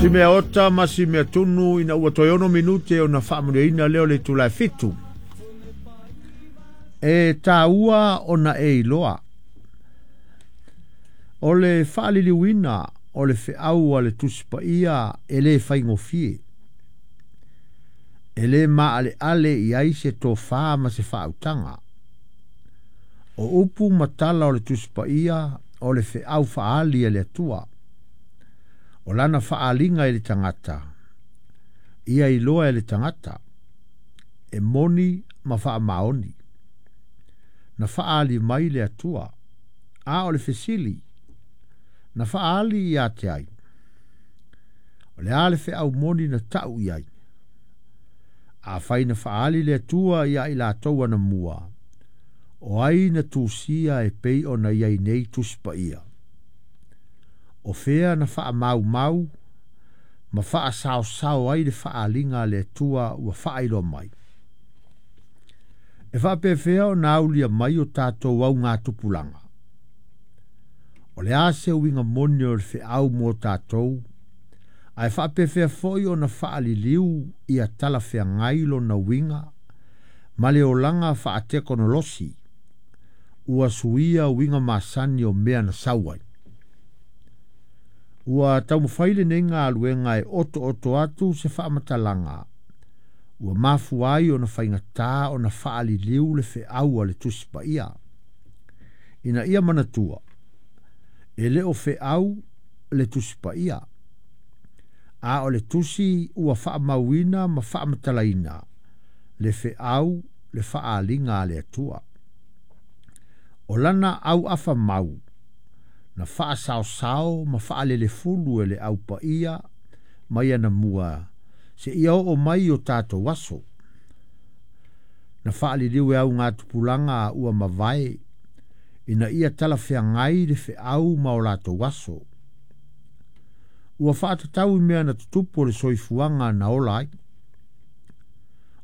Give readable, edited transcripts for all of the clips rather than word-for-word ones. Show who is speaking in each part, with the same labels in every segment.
Speaker 1: Si mea ota ma si mea tunu ina ua toe 6 minute ona faamanuiaina lea o le itula e 7. E tāua ona e iloa. O le faaliliuina o le feau a le Tusi Paia e le faigofie. E le maaleale i ai se tofā ma se faautaga. O upu ma tala o le Tusi Paia o le feau faaali a le Atua. O lana faaaliga i le tagata, ia iloa e le tagata, e moni ma faamaoni. Na faaali mai le Atua, a o le fesili, na faaali ia te ai. O le a le feau moni na tau i ai. Afai na faaali le Atua ia i latou anamua, o ai na tusia e pei ona i ai nei Tusi Paia. O fea na faamaumau ma faasaosao ai le faaaliga a le Atua ua faailoa mai. E faapefea ona aulia mai o tatou augatupulaga. O le a se uiga moni o le feau mo tatou, ae faapefea foi ona faaliliu ia talafeagai lona uiga ma le olaga faatekonolosi ua suia uiga masani o mea na sau ai. Ua taumafai lenei galuega e otooto atu se faamatalaga ua mafua ai ona faigatā ona faaliliu le feau a le Tusi Paia. Ina ia manatua, e le o feau le Tusi Paia, a o le tusi ua faamauina ma faamatalaina le feau le faaaliga a le Atua. O lana auafa mau na faasaosao ma faalelefulu e le Au Paia mai anamua seia oo mai o tatou aso. Na faaliliu e augatupulaga ua mavae ina ia talafeagai le feau ma o latou aso. Ua faatatau i mea na tutupu o le soifuaga na ola ai.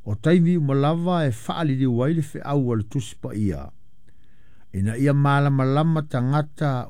Speaker 1: O taimi uma lava e faaliliu ai le feau a le Tusi Paia, ina ia malamalama tagata